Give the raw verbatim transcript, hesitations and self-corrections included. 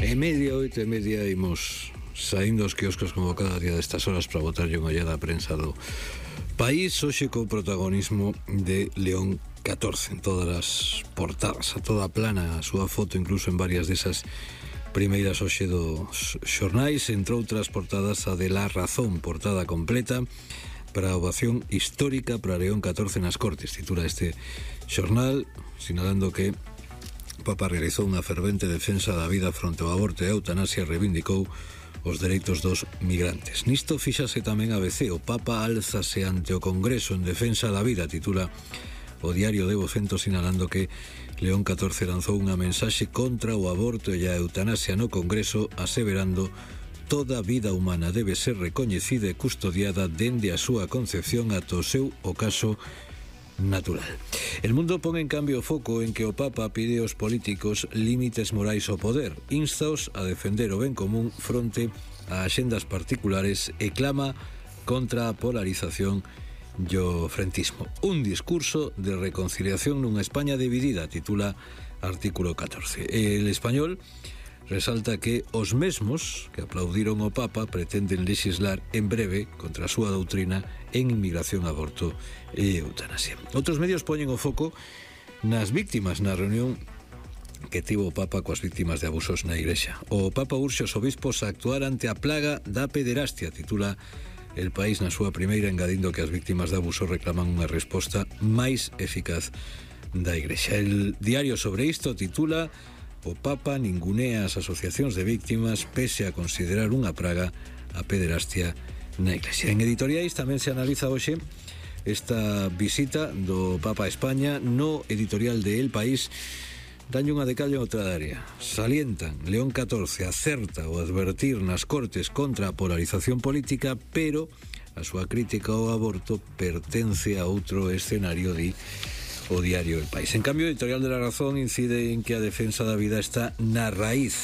E media, oito e media, imos saindo os quioscos como cada día destas horas para botar unha ollada a prensa do país, hoxe co protagonismo de León catorce en todas as portadas, a toda plana a súa foto, incluso en varias desas primeiras hoxe dos xornais, entre outras portadas a de La Razón, portada completa para a ovación histórica para León catorce nas Cortes, titula este xornal, sinalando que o Papa realizou unha fervente defensa da vida fronte ao aborto e a eutanasia e reivindicou os dereitos dos migrantes. Nisto fíxase tamén a B C, o Papa álzase ante o Congreso en defensa da vida, titula o diario de Vocento, sinalando que León catorce lanzou unha mensaxe contra o aborto e a eutanasia no Congreso, aseverando toda vida humana debe ser recoñecida e custodiada dende a súa concepción ata o seu ocaso natural. El Mundo pon en cambio o foco en que o Papa pide aos políticos límites morais ao poder, instaos a defender o ben común fronte a axendas particulares e clama contra a polarización e o frentismo. Un discurso de reconciliación nunha España dividida, titula artículo catorce. El Español resalta que os mesmos que aplaudiron o Papa pretenden legislar en breve contra a súa doutrina en inmigración, aborto e eutanasia. Outros medios poñen o foco nas víctimas na reunión que tivo o Papa coas víctimas de abusos na Igrexa. O Papa urxe os obispos a actuar ante a plaga da pederastia, titula El País na súa primeira, engadindo que as víctimas de abuso reclaman unha resposta máis eficaz da Igrexa. El diario sobre isto titula O Papa ningunea as asociacións de víctimas pese a considerar unha praga a pederastia na Iglesia. En editoriais tamén se analiza hoxe esta visita do Papa a España. No editorial de El País danlle unha de cal e outra de área. Salientan, León catorce acerta o advertir nas Cortes contra a polarización política, pero a súa crítica ao aborto pertence a outro escenario, di o diario El País. En cambio, o editorial de La Razón incide en que a defensa da vida está na raíz